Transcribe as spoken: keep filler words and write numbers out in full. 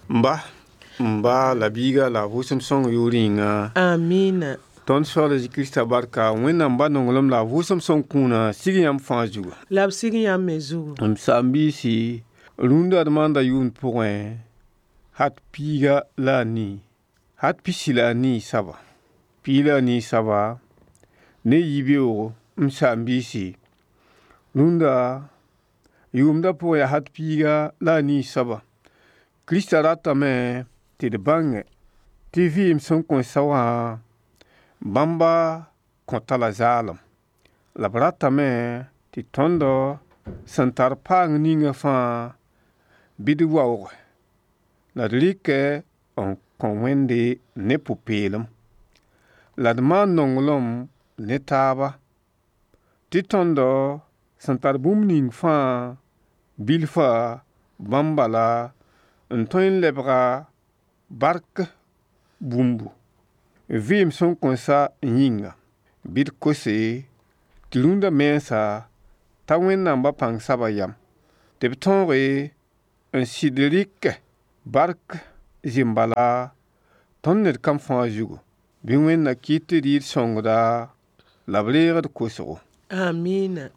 N ba, n ba la biiga la a vʋʋsem sõng yʋʋr yĩnga. Amina. Tõnd Soaal a Zezi Kirista barka, Wẽnnaam ba nonglem la a vʋʋsem sõng kũuna sig yãmb fãa zugu. La b sig yãmb me zugu. M saam-biisi, rũndã d maanda yʋʋmd pʋgẽ, hat piiga la a nii, hat pisi la a nii soaba, piig la a nii soaba ne yibeoogo. M saam-biisi, rũndã yʋʋmdã pʋgẽ yaa hat piiga la a nii soaba. Kirista ratame tɩ d bãnge tɩ vɩɩm sẽn kõn sa wã bãmba kõta la zaalem. La b ratame tɩ tõndo sẽn tar paang ninga fãa bɩ d waooge la d rɩkɛ n kõ Wẽnde ne pʋ-peelem. La d maan nonglem ne taaba tɩ tõndo sẽn tar bũmb ning fãa bilfa bãmb bala n tõe n lebga bark bũmbu vɩɩm sẽn kõn sa yĩnga. Bɩ d kose tɩ rũndã mensã t'a Wẽnnaam ba pãng saba yam tɩ b tõoge n sɩd rɩkɛ bark zĩm-bala tõnd ned kam fãa zugu. Bɩ Wẽnna kɩt tɩ d yɩ d sõngda la b reeg d kosgo. Amina.